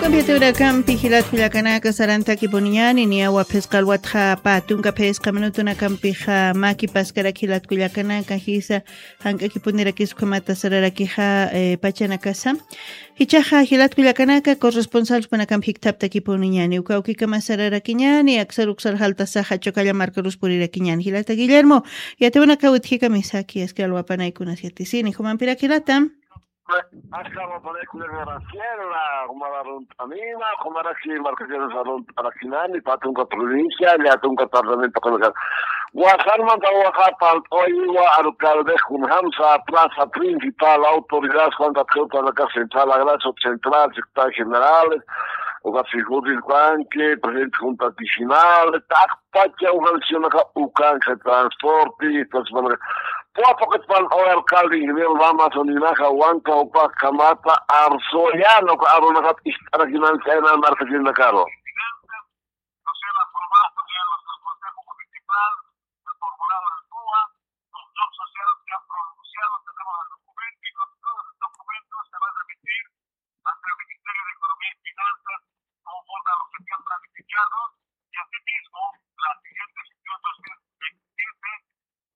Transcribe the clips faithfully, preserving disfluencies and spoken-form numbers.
Compiatewrakampi jilat kullakanaka sarantakipuniñani niyawa phisqa alwatxa pä tunka phisqa minutunakampixa maki paskarak jilat kullakanaka jisa jank'akipunirakis ukhamata sararakixa pachanakasa. Jichaxa jilat kullakanaka corresponsalchpanakampi jikthaptakipuniñani uka ukikama sararakiñani aksar uksar jaltasaxa chukalla markarus purirakiñani jilata guillermo. Yatiwanaka witjikamisa kiyaski alwapanaykunas yatisini jumampirak jilata. Askar wapanaykunak Graciela, jumar arunt'anina, jumaraki markakinas arunt'arakinani, pä tunka provincia, llätunka departamento kanakan. Wasarmanta waxa pant'oyiwa alcalde kunjamsa plaza principal, autoridad, Juan Catrioto, la casa central, agraso central, secretario general, uka figuril banque, presidente junta vecinal, tak pacha ujansionaka ukanka transporte, entonces, bueno, puwa pokotpan o alcalde ingeniero Lamas uninaja wanka upa kamata arsoyano ka arunaka istarakinan chayna markakinakaro. Ante el Ministerio de Economía y Finanzas, conforme a los que están planificados, y asimismo las siguientes dos mil veintisiete,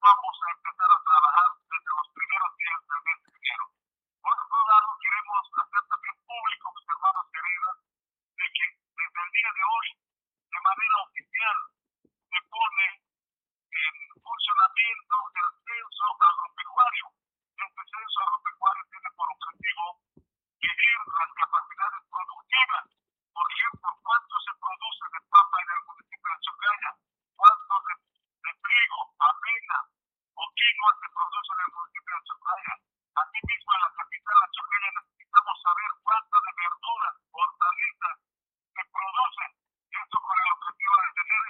vamos a empezar a trabajar desde los primeros días del mes de enero. Por otro lado, queremos hacer también público, mis hermanos queridos, de que desde el día de hoy, de manera oficial, se pone en funcionamiento el censo agropecuario. Este censo agropecuario tiene por objetivo medir las capacidades productivas, por ejemplo, cuánto se produce de papa en el municipio de Chocaya, cuánto de, de trigo, avena o quinoa se produce en el municipio de Chocaya. Asimismo, en la capital de Chocaya necesitamos saber cuánto de verduras, hortalizas,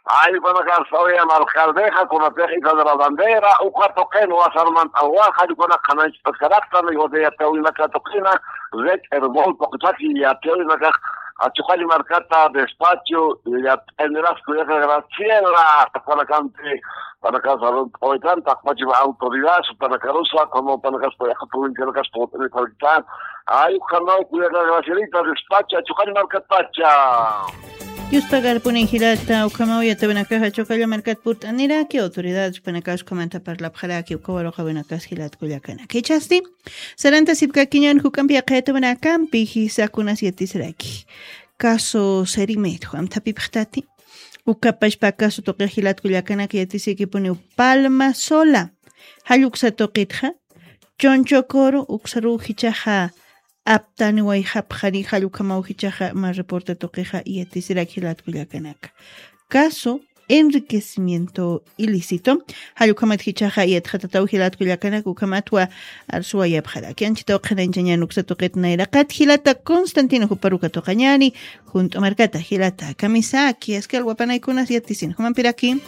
Ay, ukanakas sawiyan alcaldexa, kunatix Isla de la Bandera, uka tuqin wasarmanta, waxa, ukanak qhananchpaskaraktan, yatiyawinaka tuqina, Red Herbol, tuqitaki yatiyawinakax, Achuqalli markata, despacho, yat'aniras kullaka Graciela, ukanakampi, Panakas arunt'awaytan, taqpachipa autoridad, panakarusa, como panakas payaqa provincianakas pawt'ani parkitan. Ay, ukhamaw kullaka Gracielita, despacha, Chuqalli markatpacha. Yuspagarpuni jilata, ukhamaw yatawinakaxa Chuqalli markat purt'aniraki, autoridad, panakas ukhamanta parlapxaraki, uka waruqawinakas jilat kullakanaka. Jichhasti, sarantasipkakiñan juk'ampi yaqha yatawinakampi, jisakunas yatisraki. Caso Serimet, juamthapipxtati. Ukapachpa caso tuqix jilat kullakanaka yatisikipuniw Palma Sola. Jall uksa tuqitxa, Chonchokoro, uksaruw jichhaxa aptaniwayxapxani, jall ukhamaw jichhaxa mä reporte tuqixa yatisirak jilat kullakanaka. Caso enriquecimiento ilícito. Jall ukhamat jichhaxa yatxatataw jilat kullakanaka, ukhamatwa arsuwayapxaraki. Anchhitaw qhanañchañan uksa tuqit nayraqat jilata Constantino, juparuka tuqañani, Junt'u markata jilata kamisaki, askal wapanaykunas yatisin jumampiraki.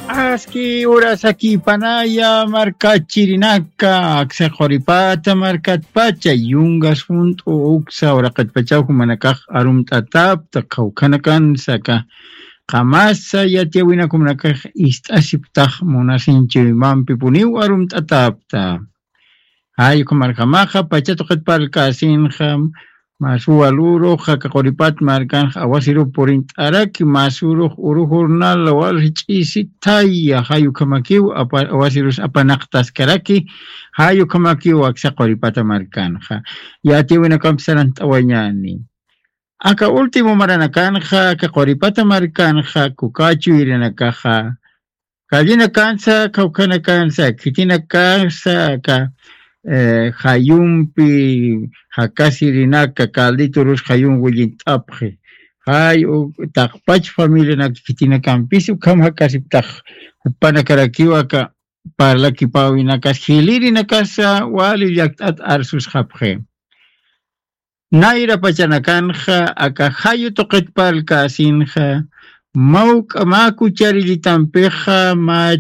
Aski urasakipanaya markachirinaka, aksa quripata markatpacha, yungas junt'u uksa uraqatpachaw jumanakax arumt'atapta, qhawkhanakansaka qamasa yatiyawinakumanakax ist'asiptax munasinchiwimampipuniw arumt'atapta. Jay ukhamarjamaxa, pacha tuqit parlkasinxa, masuwa lurux, jaka quripat markanxa, awasirup purint'araki, masurux, uru jurnal, walji ch'isi thaya, jay ukhamakiw, apa-, awasirus apanaqtaskaraki, jay ukhamakiw, aksa quripata markanxa. Yatiyawinakampi sarant'awañani. Aka último maranakanxa, aka quripata markanxa, kukachu irinakaxa, kallinakansa, kawkhanakansa, khitinakansa, aka, eh, jayumpi, jakasirinaka, Carlito Rus jayum willint'apxi. Jay, u-, taqpach familianaka khitinakampis, ukham jakasiptax, jupanakarakiw aka parlakipäwinakas, jilirinakasa, wali llakt'at arsusxapxi. Nayra pachanakanxa, aka jayu tuqit parlkasinxa, mawk'a mä kucharillitampixa, mä